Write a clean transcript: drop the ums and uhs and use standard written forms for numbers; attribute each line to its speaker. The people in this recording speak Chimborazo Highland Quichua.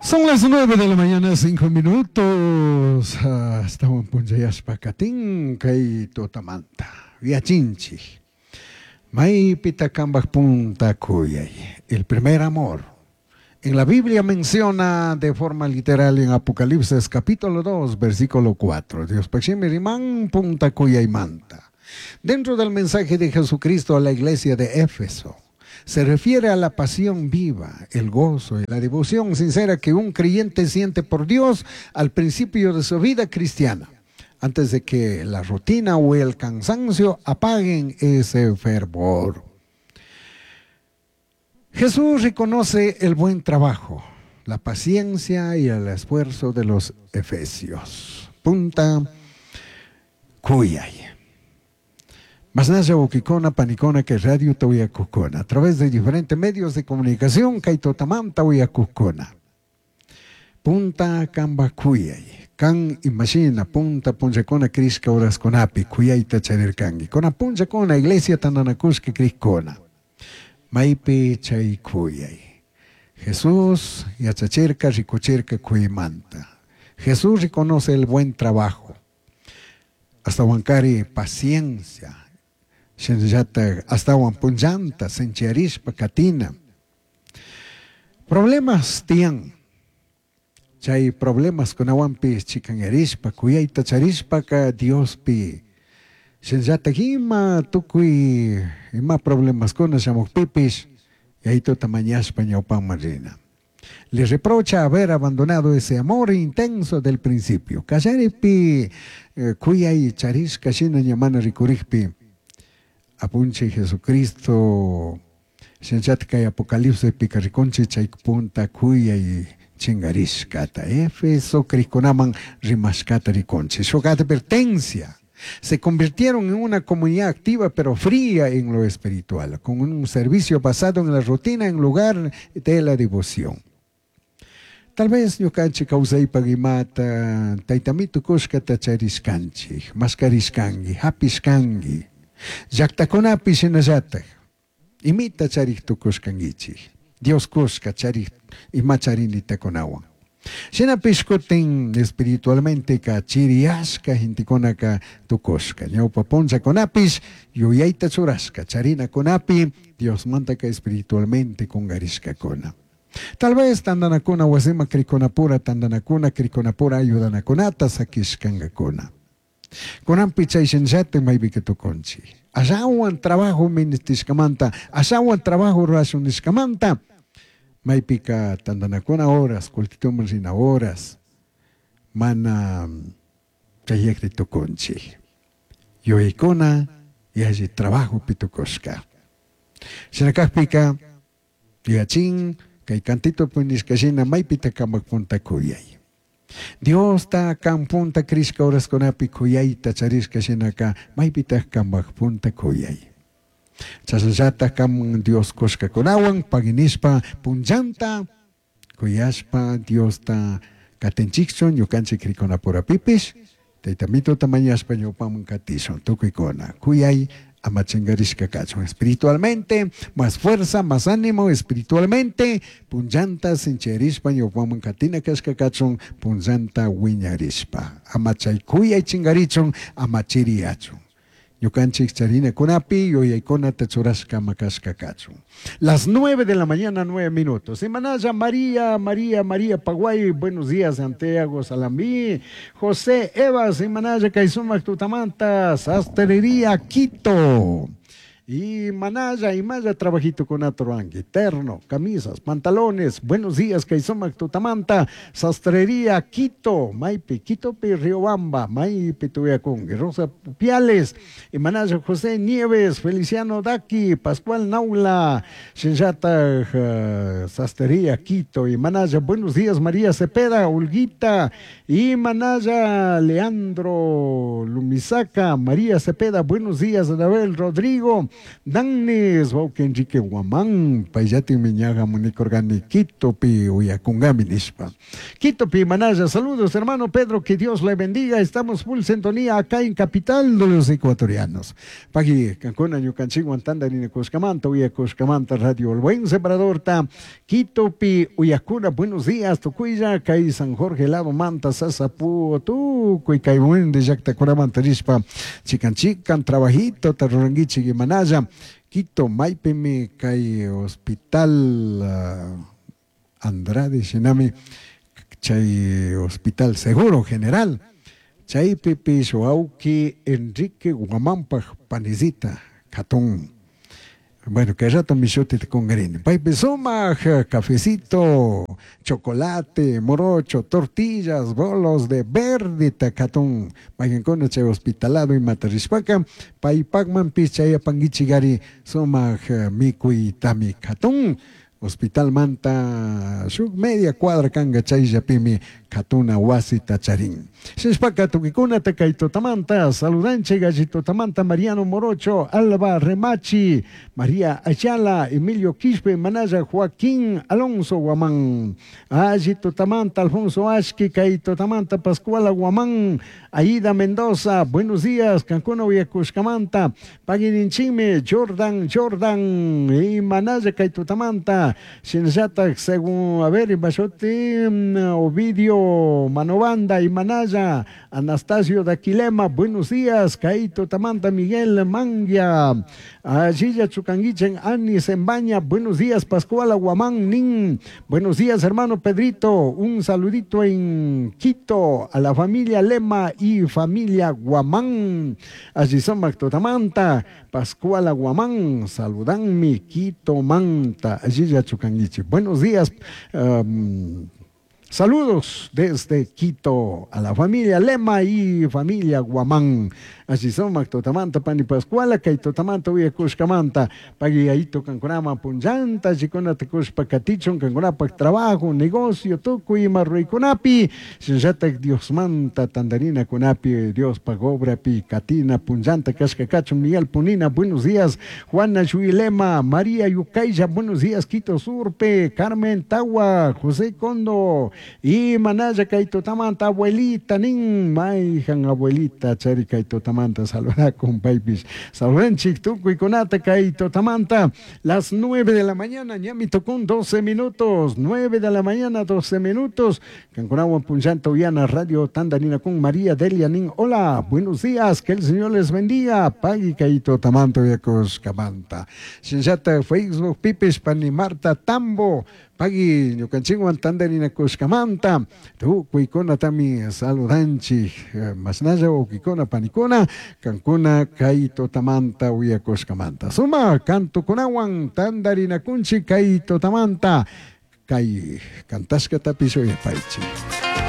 Speaker 1: Son las 9 de la mañana, 5 minutos. Ashtahuan punchayashpa katin kay tutamanta. Yachinchik. Maypita kambaj punta kuyay. El primer amor. En la Biblia menciona de forma literal en Apocalipsis capítulo 2, versículo 4. Diospaj shimi riman punta kuyaymanta. Dentro del mensaje de Jesucristo a la iglesia de Éfeso, se refiere a la pasión viva, el gozo y la devoción sincera que un creyente siente por Dios al principio de su vida cristiana, antes de que la rutina o el cansancio apaguen ese fervor. Jesús reconoce el buen trabajo, la paciencia y el esfuerzo de los efesios. Punta kuyay. Mashnalla huauquicuna, panicuna que radiota uyacujcuna, a través de diferentes medios de comunicación cai tutamanta uyacujcuna. Punta cambaj cuyai. Can imashina punta punllacuna crishca horascunapi cuyaita charircangui. Cunan punllacuna iglesia tandanacushca crijcuna. Maipi chai cuyai. Jesús yachachirca, ricuchirca cuyaimanta. Jesús reconoce el buen trabajo. Ashtahuancari paciencia. Shinallataj ashtahuan punllanta sinchiyarishpa katina. Problemas tiyan. Chay problemascunahuanpish chicanyarishpa, cuyaita charishpaca Diospi shinallataj ima tucui ima problemascuna shamujpipish Yaituta mañashpa ñaupaman rina. Le reprocha haber abandonado ese amor intenso del principio. Callaripi cuyai charishca shina ña mana ricurijpi Apunchij Jesucristo shinallataj cay Apocalipsispica ricunchij chay punta cuyai chingarishcata Éfeso crijcunaman rimashcata ricunchij. Shuj advertencia. Se convirtieron en una comunidad activa pero fría en lo espiritual, con un servicio basado en la rutina en lugar de la devoción. Tal vez ñucanchij causaipaj imata Taita Amito cushcata charishcanchij, mascarishcangui, japishcangui. Llactacunapi shinallataj imita charij tucushcanguichij, Dios cushca charij ima charinitacunahuan. Shinapish cutin espiritualmenteca chiriyashca gentecunaca tucushca. Ñaupa punllacunapish yuyaita churashca charinacunapi Diosmantaca espiritualmente cungarishcacuna. Tal vez tandanacuna huasiman cricunapura tandanacuna cricunapura ayudanacunata saquishcangacuna. Cunanpi chai shinallataj maipica tucunchij. Ashahuan trabajo ministishcamanta, ashahuan trabajo rurashun nishcamanta, maipica tandanacuna horas, cultituman rina horas, mana chayajri tucunchij. Yuyaicuna yalli trabajopi tucushca. Shina cajpica, yuyachin, cai cantitopi nishca shina maipita cambaj punta cuyai. Diosta can punta crishca horascunapi cuyaita charishca shinaca maipitaj cambaj punta cuyai. Chashnallataj can Dios cushcacunahuan pagui nishpa punllanta cuyashpa Diosta catinchijchu ñucanchij cricunapurapipish Taita Amituta mañashpa ñaupaman catishun tucuicuna cuyai ama chingarishca cachun espiritualmente más fuerza, más ánimo espiritualmente punllanta sinchiyarishpa ñaupaman catina cashca cachun punllanta huiñarishpa ama chai cuyai chingarichun ama chiriyachun. Ñucanchij charinacunapi yuyaicunata churashca ama cashca cachun. Las nueve de la mañana, nueve minutos. Imanalla María, María, María Paguay, buenos días, Santiago Salambí, José Evas, Imanalla cay sumaj tutamanta, Sastrería Quito. Y Manaya, imalla trabajitocunata ruranqui, terno, camisas, pantalones, buenos días, cay sumaj tutamanta, Sastrería Quito, Maipi, Quitopi, Riobamba, Maipi tuyacunqui, Rosa Piales, y Manaya José Nieves, Feliciano Daki, Pascual Naula, Shinllataj, Sastrería Quito, y Manaya, buenos días, María Cepeda, Olguita, y Manaya, Leandro Lumisaca, María Cepeda, buenos días, Anabel Rodrigo, Dannis wawqi Enrique Guamán, payllatikmi ña hamunikurkani Quitopi uyakunkami nishpa. Quitopi manalla, saludos hermano Pedro, que Dios le bendiga, estamos full sintonía acá en Capital de los Ecuatorianos. Pagui, kankuna ñukanchikwan tantarinakushkamanta, uyakushkamanta Radio El Buen Sembradorta, Quitopi uyakuna, buenos días, tukuylla, kay San Jorge lado manta, Sasapu, tukuy kay buen llaktakunamanta rishpa, chikan chikan trabajito, rurankichik imanalla, Quito maypimi kay hospital Andrade shinami chay hospital Seguro General, chaypipish wawki Enrique Guamanpaj panisita katun. Bueno, kay rato mishutita kunkarini. Paypi sumak cafecito, chocolate, morocho, tortillas, bolos de verdita katun. Mayqankuna chay hospitalado imata rishpaka, paypakmanpish chayapankichikari sumak mikuytami katun. Hospital manta shuk media cuadra kanka chayllapimi katuna wasita charin. Shinashpaka tukuykunata kay tutamanta saludanchik alli tutamanta Mariano Morocho, Alba Remachi, María Ayala, Emilio Quispe, Manaya Joaquín Alonso Guamán, alli tutamanta Alfonso Ashki, kay tutamanta Pascuala Guamán, Aida Mendoza, buenos días, kankuna uyakushkamanta, pagininchikmi Jordan, Jordan, y Manaya kay tutamanta, shinallatak según, a ver, imashuti, Ovidio Manobanda y Manaya, Anastasio Daquilema, buenos días, kay tutamanta Miguel Mangia, Allilla Chucanguichen, Ani Zembaña, buenos días, Pascuala Guamán Nin, buenos días, hermano Pedrito, un saludito en Quito a la familia Lema y familia Guamán, allí son Tutamanta, Pascuala Guamán, saludanmi, Quito Manta, allí Chucanguiche, buenos días, saludos desde Quito a la familia Lema y familia Guamán. Así son Tutamanta, Pani Pascuala, kay tutamanta uyakushkamanta, pagui kankunama punllanta, allikuna tukushpa katichun, kankunapak trabajo, negocio, tukuy ima ruraykunapi, shinallatak Diosmanta tandarinakunapi, Diospaj obrapi, katina punllanta kashka kachun, Miguel Punina, buenos días, Juana Lema, María Yucaylla, buenos días, Quito Surpe, Carmen Tawa, José Condo, y Manaya kay tutamanta, abuelita, nin, mayjan abuelita, chari kay tutamanta, saludakun paypish, saludanchik tukuykunata kay tutamanta, las 9 de la mañana, ñami tukun 12 minutos, 9 de la mañana, 12 minutos, kankunawan punllanta uyana radio tandarinakun María Delia nin, hola, buenos días, que el Señor les bendiga, pagui kay tutamanta uyakushkamanta, shinallata Facebook pipish pani Marta Tambo, pagui ñukanchikwan tandarinakushkamanta, tukuykunatami saludanchik, mashnalla wawkikuna panikuna, kankuna kay tutamanta uyakushkamanta. Suma kantukunawan tandarinakunchik kay tutamanta, kay kantashkatapish uyapaychik.